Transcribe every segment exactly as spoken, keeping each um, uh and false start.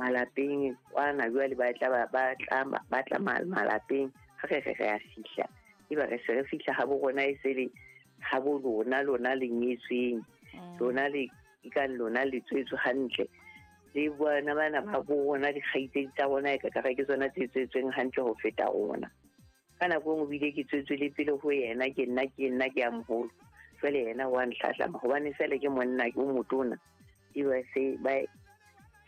Malapeng kwana jwale ba tla ba ba tla ba tla malapeng ha re re re a fihla eba re se re fihla ha bo rona e se le ha bo lona lona le nyetsweng lona le ka lona le tswetswe hantle le bona bana ba bo rona dikgaitsedi tsa rona e ka ka ke tsona tse tswetsweng hantle ho feta rona. Ka nako engwe bile ke tswetswe le pele ho yena ke nna ke nna ke ya moholo jwale yena wa ntlhahlama hobane fela ke monna ke o motona eba se ba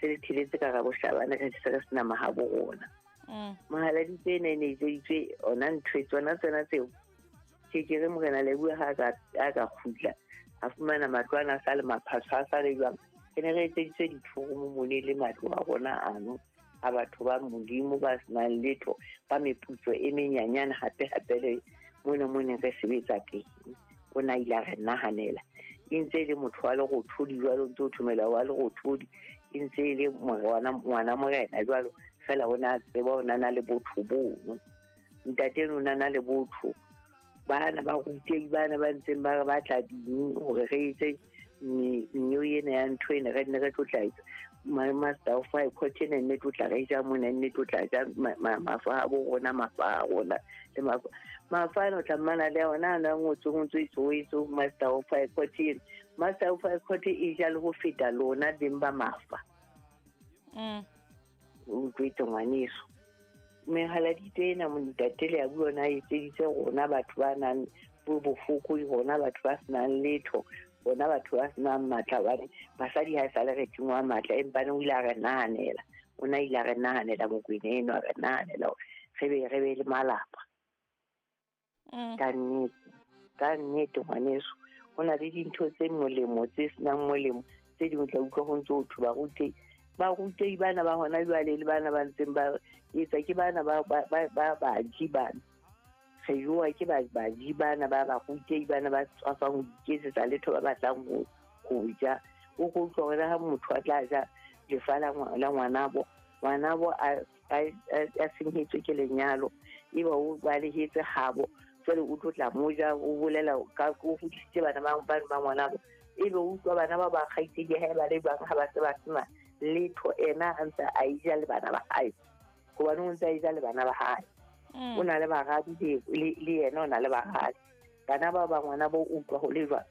se le thiletse ka rabohlabana ka se re sena mahabo rona. Mohaladitwe ena e ne etseditswe ona ntho tsona tsona tseo ke ke re morena Leboha ha ka a ka kgutla a fumana matlo ana a sa le maphaso a sa le jwang. Re ne re etseditswe dithoromo mone le matlo a rona ano a batho ba Modimo ba senang letho ba meputso e menyanyane hape hape le mona mone re sebetsa teng. O na ile a re nahanela e ntse e le motho wa lerothodi jwalo ntse o thomela wa lerothodi e ntse e le ngwana ngwana morena jwalo fela o na tseba o na na le botho bono ntate o na na le botho bana ba rutei bana ba ntseng ba re batla ding hore re etse nnyo ena ya ntho ena re nne re tlo tla etsa master of five court ena nne tlo tla re ja mona nne tlo tla ja mafa a bo rona mafa a rona le mafa mafa ano tla mmana le ona a ngotswe ngotswe itso itso master of five court ena master of five court e ja le ho feta lona beng ba mafa. Mm. O utlwetse ngwaneso mehaladitwe ena montate le ya bua na etseditse rona batho ba nang bo bofokodi rona batho ba senang letho rona batho ba senang matla hobane basadi ha e sale re tingwa matla empa ne o ile a re nahanela o na ile a re nahanela Mokwena eno a re nahanela hore re be re be le malapa. Ka nnete ka nnete ngwaneso ho na le dintho tse molemo tse senang molemo tse ding o tla utlwa ho ntso ho thwe barutei barutei bana ba hona jwale le bana ba ntseng ba etsa ke bana ba ba ba baji bana re jowa ke ba baji bana ba barutei bana ba tswafang ho iketsetsa letho ba batlang ho ho ja. O ko utlwa hore ha motho a tla ja lefa la ngwanabo ngwanabo a a senyetswe ke lenyalo eba o balehetse habo jwale o tlo tla mo ja o bolela ka o hodisitse bana ba ba ba ngwanabo ebe o utlwa bana ba ba kgaitsedi hae ba le bang ha ba se ba sena letho ena a ntse a ija le bana ba hae hobane o ntse a ija le bana ba hae. O na le baradi le le yena o na le baradi bana ba ba ngwana bo utlwa ho le jwang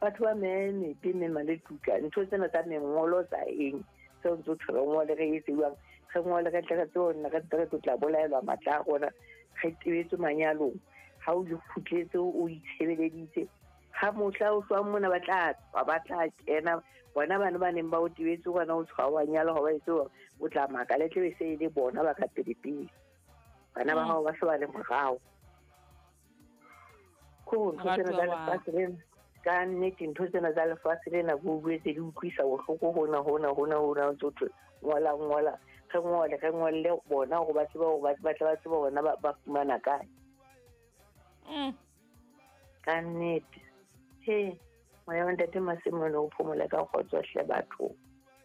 batho ba memepe mema le tuka ntho tsena tsa mengolo tsa eng tseo ntse thwe re ngole re etse jwang re ngole re tle re tsebe re tle re tlo tla bolaelwa matla a rona re tebetswe manyalong ha o kgutletse o itshebeleditse ha mohla o hlwang mona ba tla tswa ba tla kena bona bana ba neng ba o tebetse gona o tshwa wa nyala hoba etse o tla makala tle be se e le bona ba ka pele pele bana ba hao ba se ba le morao. Ko ntho tsena tsa lefatshe lena ka nnete ntho tsena tsa lefatshe lena bo boetse di utlwisa bohloko hona hona hona hona ntse o thwe ngola ngola re ngole re ngolle bona hore ba tsebe hore ba tla ba tsebe bona ba fumana kae. Mm. Ka nnete he moya wa ntate Masemone o phomola ka kgotso hle batho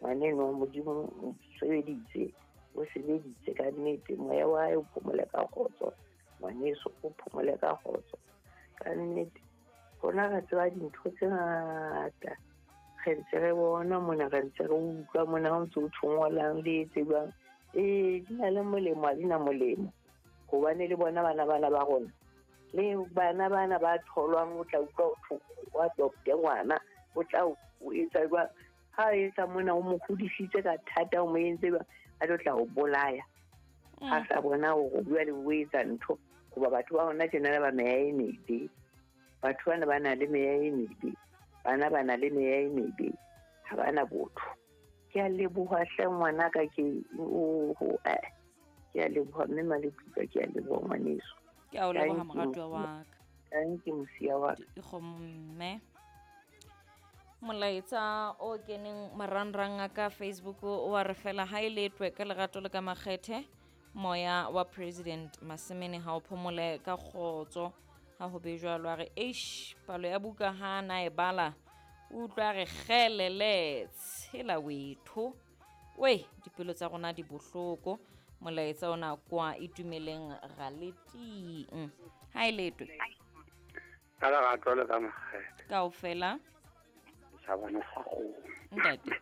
ngwaneno Modimo o sebeditse o sebeditse ka nnete moya wa hae o phomola ka kgotso ngwaneso o phomola ka kgotso ka nnete. Rona re tseba dintho tse ngata re ntse re bona mona re ntse re utlwa mona ho ntse ho thongolang le etse jwang ee di na le molemo ha di na molemo hobane le bona bana bana ba rona le bana bana ba tholwang o tla utlwa o adopte ngwana o tla o etsa jwang ha etsa mona o mo hodisitse ka thata o mo entse jwang a tlo tla o bolaya ha sa bona hore o bua le o etsa ntho hoba batho ba hona tjena ba meya e mebe batho bana ba na le meya e mebe bana ba na le meya e mebe ha ba na botho. Ke a leboha hle ngwanaka ke oho eh ke a leboha mme Maletuka ke a leboha ngwaneso. Ke a o leboha moratuwa wa ka. Thank you mosia wa ka. Dikgomo molaetsa o keneng marangrang a ka Facebook o wa re fela ha e letwe ka lerato le ka makgethe moya wa President Masemene ha o phomole ka kgotso ha ho be jwalo a re eish palo ya buka ha na e bala o utlwa re kgelele tshela wetho we dipelo tsa rona di bohloko molaetsa ona kwa itumeleng raleting ha e letwe ka lerato le ka makgethe kaofela sa bona sa go ntate